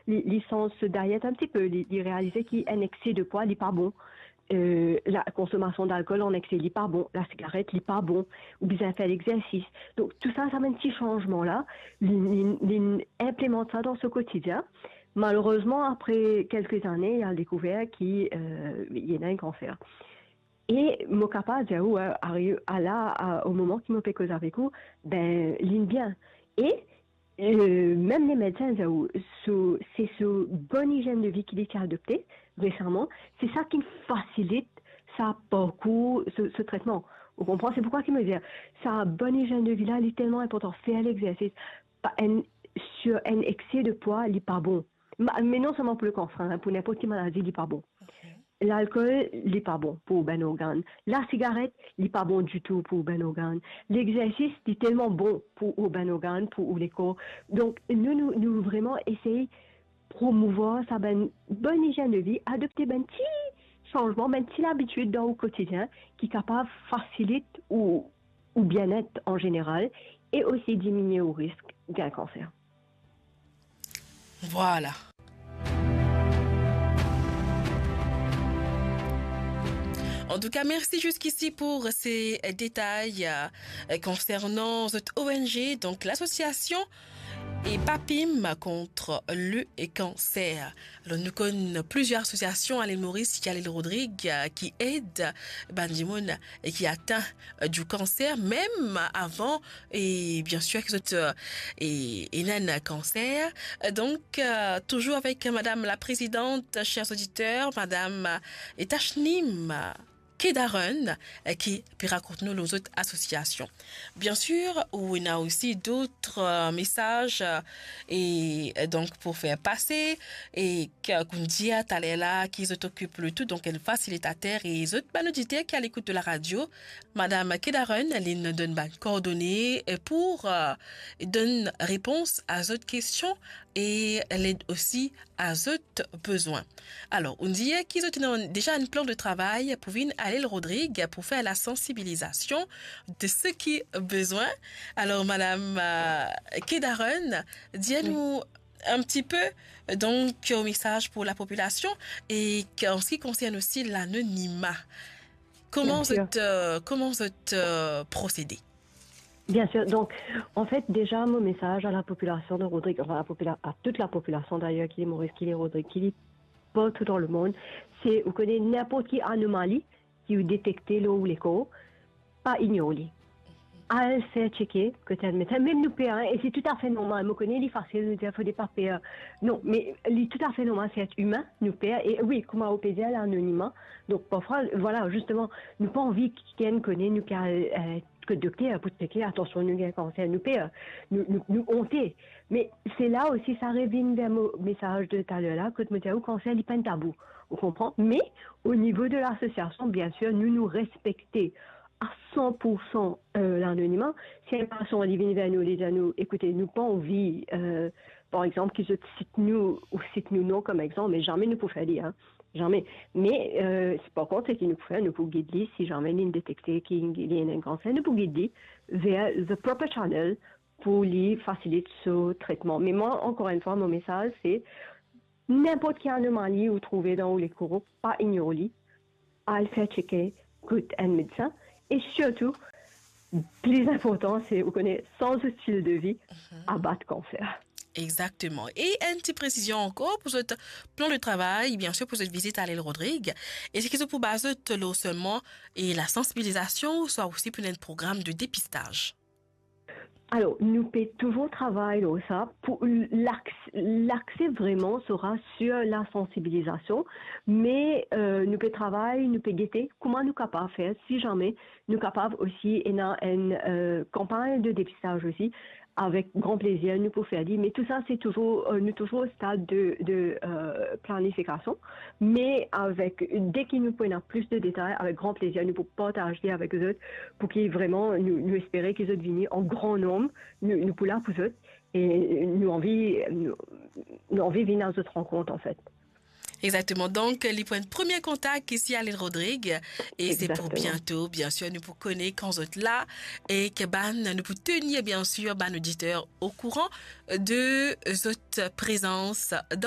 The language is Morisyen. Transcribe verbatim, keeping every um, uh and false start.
li, li sanz so diet enn tipe, li, li realize ki enn ekse de pwa, li pa bon. Euh, la konsomasion dalkol an ekse, li pa bon. Lasigaret, li pa bon. Ou bizin fer legzersis. Donk, tou sa, sa bann ti sanzman la, li, li, li inplimant sa dan so kotidien. Malerezman, apre kelke zane, li al dekouver ki, euh, li ena enn kanser. E mo kapav dir ou, a, ariv a la, a, o moman ki mo pe koz avek ou, ben, linn bien. E, euh, mem lemedsin dir ou, so, se so bonn izienn de vi ki li ti adopte resaman, se sa ki fasilit sa parkour, so, so tretman. Ou konpran? Se poukwa ki mo dir, sa bonn izienn de vi la, li telman inportan. Fer legzersis, pa enn, sir enn ekse de pwa, li pa bon. Ma-, me non selman pou le kanser, hein, pou ninport ki maladi, li pa bon. Ok. Lalkol, li pa bon pou ou bann organn. Lasigaret, li pa bon ditou pou ou bann organn. Legzersis, li telman bon pou ou bann organn, pou ou lekor. Donk, nou, nou, nou vreman esey promouvwar sa bann bonn izienn de vi, adopte bann ti sanzman, bann ti labitid dan ou kotidien ki kapav fasilit ou, ou bienet an zeneral e osi diminie ou risk gagn kanser. Vwala. Antouka, mersi ziskisi pou se detay, euh, konsernan zot O N G, donk lasosiasion e PAPIM kont le kanser. Alor, nou konn plizier asosiasion a Lil Moris, ki a Lil Rodrig, euh, ki ed bann dimoun ki atin, euh, di kanser, mem avan, e biensir ki zot, euh, e, ena enn kanser. Euh, donk, euh, touzour avek madam la prezidant, chers auditeurs, madam, euh, Tashnim Kedarun, euh, ki pe rakont nou lor zot asosiasion. Biensir, ou ena osi dot, euh, mesaz, euh, e, euh, donk pou fer pase, e ki, kouma dir taler la, ki zot okip le tou, donk enn fasilitater, e zot bann oditer ki a lekout de la radio, madam Kedarun, linn donn bann kordone, euh, pou, euh, donn repons a zot kestion e led osi a zot bezwin. Alor, ou dir ki zot ena deza enn plan de travay pou vinn a Lil Rodrig pou fer lasansibilizasion de seki bizin. Alor, madam, euh, Kedarun, dir nou enn tipe, donk, euh, mesaz pou lapopilasion e ki, an se ki konsern osi lanonima. Kouma zot, euh, kouma zot, euh, prosede? Biensir. Donk, anfet, deza, mo mesaz a lapopilasion de Rodrig, anfin, lapopila-, a tou lapopilasion dayer, ki Lil Moris, ki Lil Rodrig, ki li partou dan lemond, se, ou kone, ninport ki anomali ki ou detekte lor ou lekor, pa ignor li. Al fer tcheke kot enn medsin. Mem nou per, hein, e se toutafe normal. Mo kone li fasil nou dir fode pa per. Non, me li toutafe normal, se et imin, nou per. E wi, kouma ou pe dir, lanonima. Donk, parfwa, vwala, zisteman, nou pa anvi ki kikenn kone nou ki al, euh, kot dokter pou tcheke, atansion, nou gagn kanser, nou per, nou, nou, nou onte. Me se la osi, sa revinn ver mo mesaz de taler la, kot mo dir ou kanser, li pa enn tabou. Ou konpran? Me o nivo de lasosiasion, biensir, nou, nou respekte a san pou san, euh, lanonima. Si enn pasian, li vinn ver nou, li dir nou, "Ekoute, nou pa anvi, euh, par exanp, ki zot sit nou, ou sit nou non kom exanp," me zame nou pou fer li, hein. Zame. Me, euh, par kont, seki nou pou fer, nou pou gid li, si zame li detekte ki li ena enn kanser, nou pou gid li ver the proper channel pou li fasilit so tretman. Me mwa, ankor enn fwa, mo mesaz, se, ninport ki anomali ou trouve dan ou lekor, pa ignor li, al fer tcheke kot enn medsin, e sirtou, pli inportan, se, ou kone, sanz stil de vi, abat kanser. Exakteman. E enn ti presizion ankor pou zot plan de travay, biensir pou zot vizit a Lil Rodrig, eski zot pou baze zot lor selman e lasansibilizasion, ouswa osi pou enn program de depistaz? Alor, nou pe touzour travay lor sa. Pou l-, laks-, lakse vreman sera sir lasansibilizasion, me, euh, nou pe travay, nou pe gete kouma nou kapav fer, si zame nou kapav osi ena enn, euh, kanpagn de depistaz osi, avek gran plezir nou pou fer li. Me tou sa, se touzour, euh, nou touzour o stad de, de, euh, planifikasion. Me avek, deki nou pou ena plis de detay, avek gran plezir, nou pou partaz li avek zot, pou ki vreman nou, nou espere ki zot vini an gran nonb, nou, nou pou la pou zot, e nou anvi, nou, nou anvi vinn a zot rankont, anfet. Exakteman. Donk, li pou enn premie kontak isi a Lil Rodrig, e se pou biento, biensir, nou pou kone kan zot la, e ki bann, nou pou tenir, biensir, bann oditer okouran de zot prezans dan